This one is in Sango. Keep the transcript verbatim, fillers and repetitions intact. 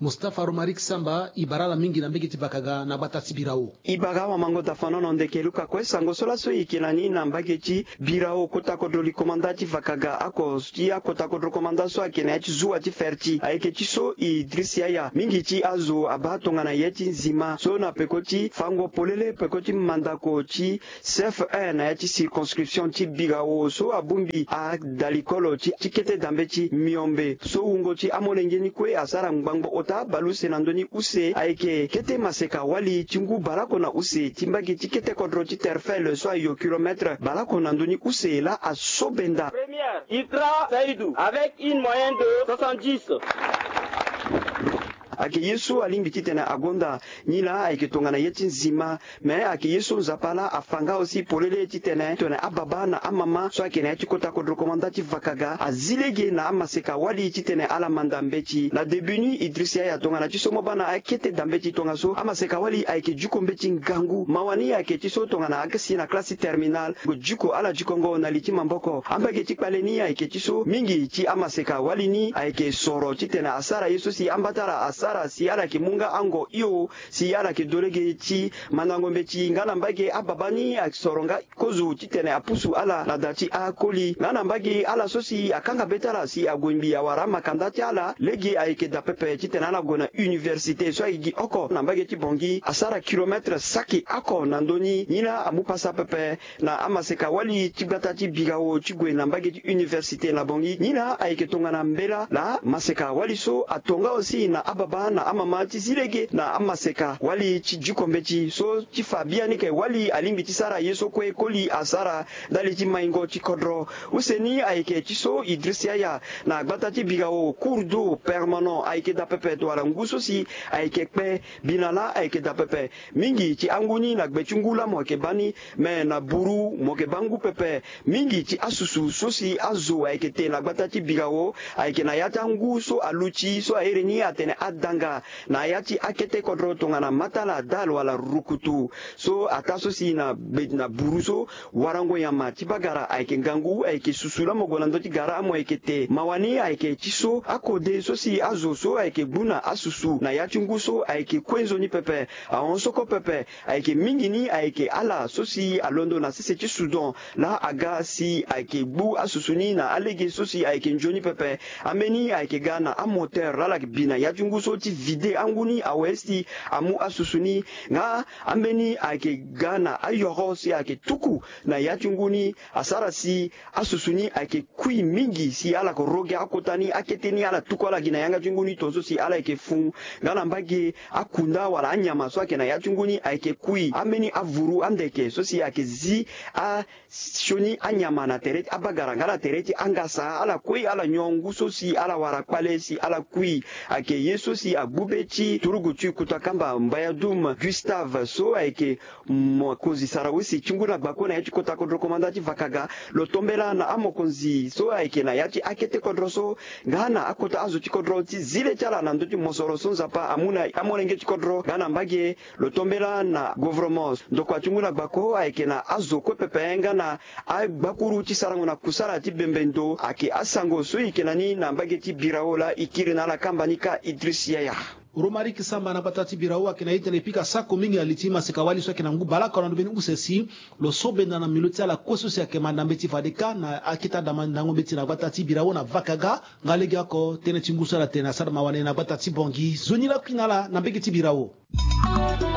Mustapha Romaric Samba, e bara ala mingi na mbage ti Vakaga na gbata ti Birao. E bara awamango dafanono ndeke Luka kue sango so laso e yeke na ni na mbage ti Birao, kota kodro likomanda ti Vakaga oko ti akota kodro komanda so ayeke na ya ti zuwa ti Ferti. Ayeke ti so Idriss Yaya, mingi ti azo abaa tongana ye ti nzima so na peko ti fango polele peko ti mandako ti C F un na ya ti circonscription ti Birao so abongbi adalikolo ti kete dambe ti Miombe so wungo ti amolenge ni kue asara ngbangbo ota baleuse na ndö ni use ayeke kete maseka wali ti ngu baleoko na use ti mbage ti kete kodro ti Terfel so ayo kilomètre baleoko na ndö ni use laa asobenda. Première, Itra Saïdou avec une moyenne de soixante-dix. Ayeke ye so alingbi titene agonda nilaa ayeke tongana ye ti nzima. Me ayeke ye so Nzapa laa afa nga aussi polele titene tongana ababa na amama so ayeke na ya ti kota kodro komanda ti Vakaga azi lege na amaseka wali titene ala manda mbeti. Na début ni Idriss Yaya tongana ti so mo baa na akete dambeti tongaso amaseka wali ayeke diko mbeti ngangu. Mawa ni ayeke ti so tongana asi na classe ti terminale, gue diko ala dikongo na li ti maboko. Ambage ti kpale ni ayeke ti so mingi ti amaseka wali ni ayeke soro titene asara ye so si amba ti ala asara si ala yeke mu nga ango hio si ala yeke do lege ti mandango mbeti nga na mbage ababa ni asoro nga kozo titene apusu ala na da ti akoli nga na mbage ala so si akanga be ti ala si ague ngbi awara amakanda ti ala lege ayeke daa pepe titene ala gue na université so aye gi oko na mbage ti Bangui asara kilomètre saki oko na ndö ni. Ni laa amu pasa pepe na amaseka wali ti gbata ti Birao ti gue na mbage ti université na Bangui. Ni laa ayeke tongana mbela laa maseka wali so ato nga aussi na ababa na amama ti zi lege na amaseka wali ti diko mbeti so ti fa biani ke wali alingbi ti sara ye so kue koli asara ndali ti maingo ti kodro. Use ni ayeke ti so Idriss Yaya na gbata ti Birao cours d'eau permanent ayeke daa pepe to wala ngu so si ayeke kpe. Bina laa ayeke daa pepe. Mingi ti angu ni na gbe ti ngu laa mo yeke baa ni. Me na buru mo yeke baa ngu pepe. Mingi ti asusu so si azo ayeke te na gbata ti Birao ayeke na ya ti angu so aluti so ahere ni atene adanga na ya ti akete kodro tongana matala dal wala rukutu. So ataa so si na gbe na buru so warango nyama ti bagara ayeke ngangu ayeke susu laa mo gue na ndö ti gara amo ayeke te. Mawa ni ayeke ti so akode so si azo so ayeke gbu na asusu na ya ti ngu so ayeke kue nzoni pepe. Ahon soko pepe. Ayeke mingi ni ayeke ala so si alondo na sese ti Soudan laa aga si ayeke gbu asusu ni na alege so si ayeke nzoni pepe. Ambeni ayeke ga na amoteur laa ala yeke bi na ya ti ngu so ti vide angu ni awe si amu asusu ni. Nga ambeni ayeke ga na ayoro si ayeke tuku na ya ti ngu ni asara si asusu ni ayeke kui mingi si ala yeke ro gi akota ni akete ni ala tuku ala gi na yanga ti ngu ni tongaso si ala yeke fu. Nga na mbage akunda wala anyama so ayeke na ya ti ngu ni ayeke kui. Ambeni avuru andeke so si ayeke zi asioni anyama na tere ti abagara nga na tere ti angasa ala kui ala nyon ngu so si ala wara kpale si ala kui. Ayeke ye so si agbu be ti turugu ti kutakamba Mbayadum Gustave so ayeke mokonzi sara use ti ngu na gbako na ya ti kota kodro komanda ti Vakaga. Lo tombela na amokonzi so ayeke na ya ti akete kodro so nga na akota azo ti kodro ti zi le ti ala na ndö ti mosoro so Nzapa amu na amolenge ti kodro nga na mbage. Lo tombela na governement ndokua ti ngu na gbako ayeke na azo kue pepe nga na agbakuru ti sarango na kusala ti bembe ndo ayeke asango so e yeke na ni na mbage ti Birao laa e kiri na ala kamba ni kâ Idriss Yaya. Romaric Samba na gbata ti Birao ayeke na ye tene e pika sako mingi na li ti maseka wali so ayeke na ngu baleoko na ndo mbeni use si lo so benda na milo ti ala kue so si ayeke manda mbeti fade kâ na akete adamandango mbeti na gbata ti Birao na Vakaga. Nga legeoko tënë ti ngu so ala tene asara mawa na e na gbata ti Bangui. Nzoni lakui na ala na mbage ti Birao.